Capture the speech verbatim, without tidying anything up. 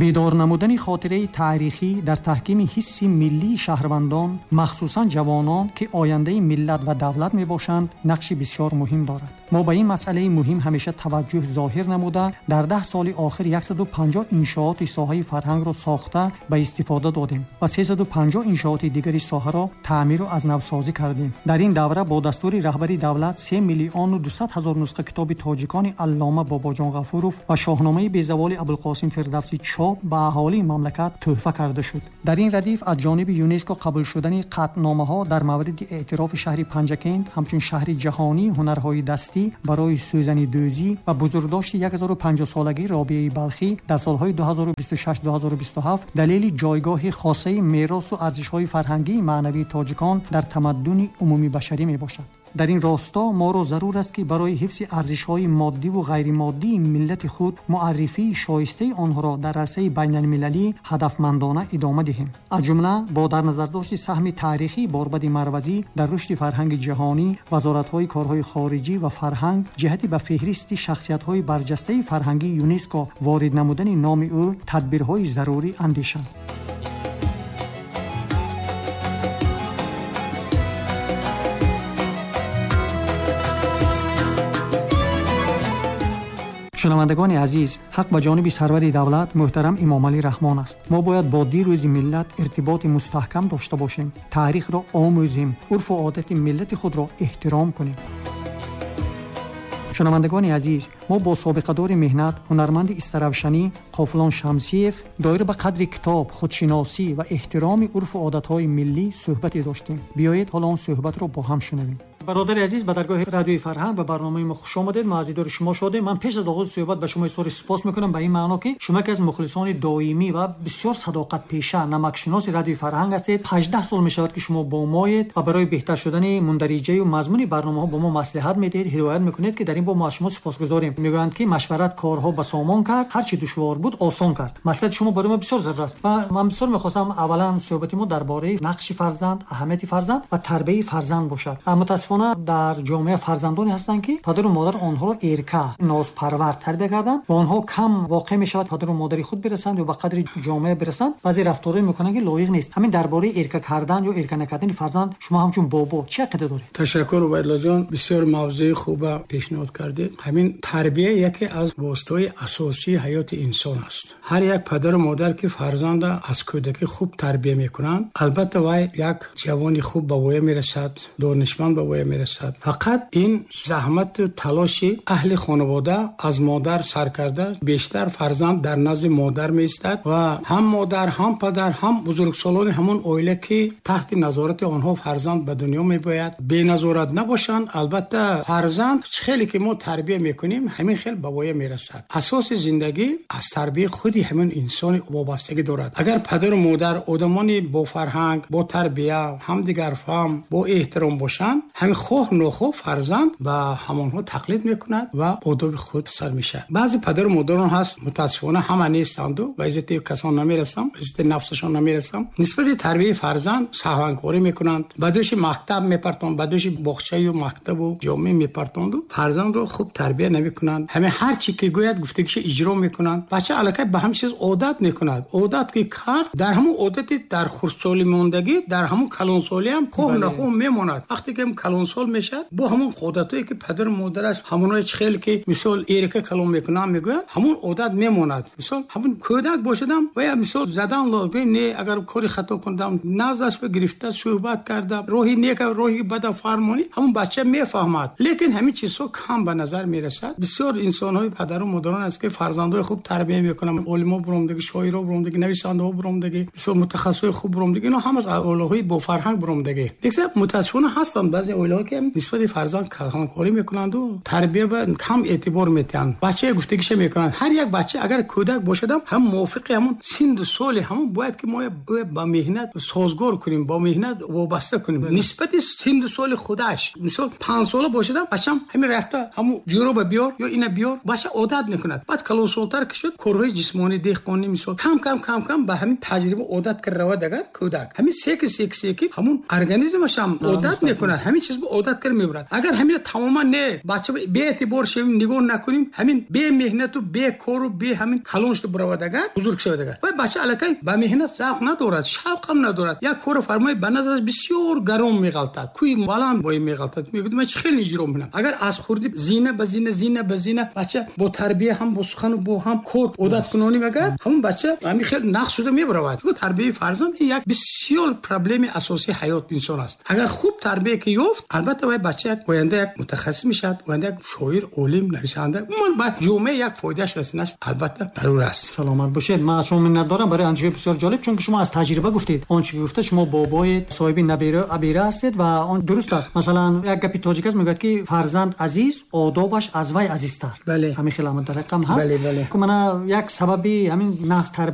Бедор намудани хотираи таърихӣ дар таҳкими ҳисси миллии шаҳрвандон, махсусан ҷавонон, ки ояндаи миллат ва давлат мебошанд, нақши бисёр муҳим дорад. Мо ба ин масъалаи муҳим ҳамеша таваҷҷӯҳ зоҳир намуда, дар даҳ соли охир яксаду панҷоҳ иншооти соҳаи фарҳангро сохта ба истифода додем ва сесаду панҷоҳ иншооти дигари соҳаро таъмиру аз навсозӣ кардем. Дар ин давра бо дастури раҳбари давлат се миллиону дусад ҳазор нусха китоби тоҷикони аллома Бобоҷон Ғафуров ва шоҳномаи безаволи Абулқосим Фирдавсӣ чоп ба аҳолии мамлакат тӯҳфа карда шуд. Дар ин радиф аз ҷониби ЮНЕСКО қабул шудани қатъномаҳо дар мавриди эътирофи шаҳри Панҷакент ҳамчун шаҳри ҷаҳонии ҳунарҳои дастӣ барои сӯзанидӯзӣ ва бузургдошти якҳазору панҷоҳсолагии Робиаи Балхӣ дар солҳои ду ҳазору бисту шаш - ду ҳазору бисту ҳафт далели ҷойгоҳи хосаи меросу арзишҳои фарҳангии маънавии тоҷикон дар тамаддуни умумибашарӣ мебошад. Дар ин росто моро зарур аст, ки барои ҳифзи арзишҳои моддиву ғайримоддии миллати худ муаррифии шоистаи онҳоро дар арсаи байналмилалӣ ҳадафмандона идома диҳем. Аз ҷумла бо дар назардошти саҳми таърихии Борбади Марвазӣ дар рушди фарҳанги ҷаҳонӣ, вазоратҳои корҳои хориҷӣ ва фарҳанг ҷиҳати ба феҳристи шахсиятҳои барҷастаи фарҳангии ЮНЕСКО ворид намудани номи ӯ тадбирҳои зарурӣ андешанд. Шунавандагони азиз, ҳақ ба ҷониби сарвари давлат муҳтарам Эмомалӣ Раҳмон аст. Мо бояд бо дирӯзи миллат иртиботи мустаҳкам дошта бошем, таърихро омӯзем, урфу одати миллати худро эҳтиром кунем. Шунавандагони азиз, мо бо собиқадори меҳнат, ҳунарманди истаравшанӣ Қофилон Шамсиев доир ба қадри китоб, худшиносӣ ва эҳтироми урфу одатҳои миллӣ суҳбате доштем. Биёед ҳоло он суҳбатро бо ҳам шунавем. Бародари азиз, ба даргоҳи радиои фарҳанг ба барномаи мо хуш омадед. Мо аз дидори шумо шодем. Ман пеш аз оғози суҳбат ба шумо изҳори сипос мекунам ба ин маъно, ки шумо яке аз мухлисони доимӣ ва бисёр садоқатпеша, намакшиноси радиои фарҳанг ҳастед. ҳаждаҳ сол мешавад, ки шумо бо моед ва барои беҳтар шудани мундариҷаю мазмуни барномаҳо бо мо маслиҳат медиҳед, ҳидоят мекунед, ки дар ин боб мо аз шумо сипосгузорем. Мегӯянд, ки машварат корҳо ба сомон кард, ҳар чи душвор буд осон кард. Маслиҳати шумо барои мо бисёр зарур аст ва ман бисёр мехостам аввалан суҳбати мо дар бораи нақши фарзанд, аҳамияти фарзанд ва тарбияи фарзанд бошад. Мутаассифона дар ҷомеа фарзандоне ҳастанд, ки падару модар онҳоро эрка, нозпарвар тарбия карданд ва онҳо кам воқеъ мешавад падару модари худ бирасанд ё ба қадри ҷомеа бирасанд. Баъзе рафторҳое мекунанд, ки лоиқ нест. Ҳамин дар бораи эрка кардан ё эрка накардани фарзанд шумо ҳамчун бобо чӣ ақида доред? Ташаккур, Убайдуллоҷон, бисёр мавзӯи хуба пешниҳод кардед. Ҳамин тарбия яке аз воситаҳои асосии ҳаёти инсон аст. Ҳар як падару модар, ки фарзанда аз кӯдакӣ хуб тарбия мекунанд, албатта вай як ҷавони хуб ба воя мерасад, донишманд ба воя мерасад. Фақат ин заҳмату талоши аҳли хонавода аз модар сар карда бештар фарзанд дар назди модар меистад ва ҳам модар, ҳам падар, ҳам бузургсолони ҳамон оила, ки таҳти назорати онҳо фарзанд ба дунё мебояд, беназорат набошанд. Албатта фарзанд хеле ки мо тарбия мекунем, ҳамин хел ба воя мерасад. Асоси зиндагӣ аз тарбияи худи ҳамин инсони вобастагӣ дорад. Агар падару модар одамони бо фарҳанг, бо тарбия, ҳамдигарфаҳм, бо эҳтиром бошанд, ҳамин хоҳ нохоҳ фарзанд ба ҳамонҳо тақлид мекунад ва одоби худ сар мешавад. Баъзе падару модарон ҳаст, мутаассифона ҳама нестанду, ба иззати касон намерасам, ба иззати нафсашон намерасам, нисбати тарбияи фарзанд саҳванкорӣ мекунанд, ба дӯши мактаб мепартонанд, ба дӯши боғчаю мактабу ҷомеа мепартонду фарзандро хуб тарбия намекунанд. Ҳамин ҳар чи ки гӯяд гуфтагиша иҷро мекунанд. Бача аллакай ба ҳамин чиз одат мекунад. Одат ки кард, дар ҳамон одати дар хурдсолӣ мондагӣ, дар ҳамон калонсолӣ ҳам хоҳ нахоҳ мемонад. Вақте ки калонсол мешавад, бо ҳамон одатҳое ки падару модараш ҳамонҳое чи хеле ки мисол эрка калон мекунанд мегӯянд, ҳамон одат мемонад. Мисол ҳамон кӯдак бошадам ва я мисол задан лозим не, агар кори хато кунам, наздаш ба гирифта суҳбат карда, роҳи нека роҳи бада фармонӣ, ҳамон бача мефаҳмад. Лекин ҳамин чизҳо кам ба назар мерасад. Бисёр инсонҳои падару модарон аст, ки фарзандҳои хуб тарбия мекунанд, олимо буромдагӣ, шоиро буромдагӣ, нависандаҳо буромдагӣ, мисол мутахассисҳои хуб буромдагӣ, инҳо ҳама аз оилаҳои бофарҳанг буромдагӣ. Лекин мутаассифона ҳастанд баъзе оилаҳо, ки нисбати фарзанд калонкорӣ мекунанду тарбия ба кам эътибор метиҳанд. Бача гуфтагиша мекунанд. Ҳар як бача агар кӯдак бошадам, ҳам мувофиқи ҳамон синну соли ҳамон бояд ки мо ба меҳнат созгор кунем, бо меҳнат вобаста кунем нисбати синну соли худаш. Мисол панҷ сола бошадам, бачам ҳамин рафта ҳамон ҷӯроба биёр ё ина биёр, бача одат мекунад. Баъд калонсолтар ки шуд, корҳои ҷисмонӣ, деҳқонӣ, мисол кам кам кам кам ба ҳамин таҷриба одат кард равад. Агар кӯдак ҳамин секи секи секи ҳамон организмаш ҳам одат мекунад, ҳамин чиз ба одат карда мебарад. Агар ҳамина тамоман не, бача беэътибор шавем, нигоҳ накунем, ҳамин бемеҳнату бекору бе ҳамин калон шуда биравад, агар бузург шавад, агар вай бача аллакай ба меҳнат завқ надорад, шавқам надорад, як корро фармои, ба назараш бисёр гарон меғалтад, кӯи баланд бои меғалтад, мегӯяд, ман чӣ хел иҷро мекунам. Агар аз хурдӣ зина ба зина, зина ба зина бача бо тарбия, ҳам бо сухану бо ҳам кор одат кунонем, агар ҳамон бача ҳамин хел нақш шуда мебаравад. Тарбияи фарзанд як бисёр проблеми асосии ҳаёт инсон аст. Агар хуб тарбия ки ёфт, албатта вай бача як оянда як мутахассис мешавад, оянда як шоир, олим, нависанда, умуман ба ҷомеа як фоидааш расинаш албатта зарур аст. Саломат бошед. Ман аз шумо миннатдорам барои андешаи бисёр ҷолиб, чунки шумо аз таҷриба гуфтед. Он чи гуфта, шумо бобои соҳиби набера абера ҳастед ва он дуруст аст. Масалан, як гапи тоҷик аст, мегӯяд ки фарзанд азиз, одобаш аз вай азизтар. Бале. Ҳамин хел ҳамин тариқам ҳаст. Бале, бале. Мана як сабаби ҳамин нағз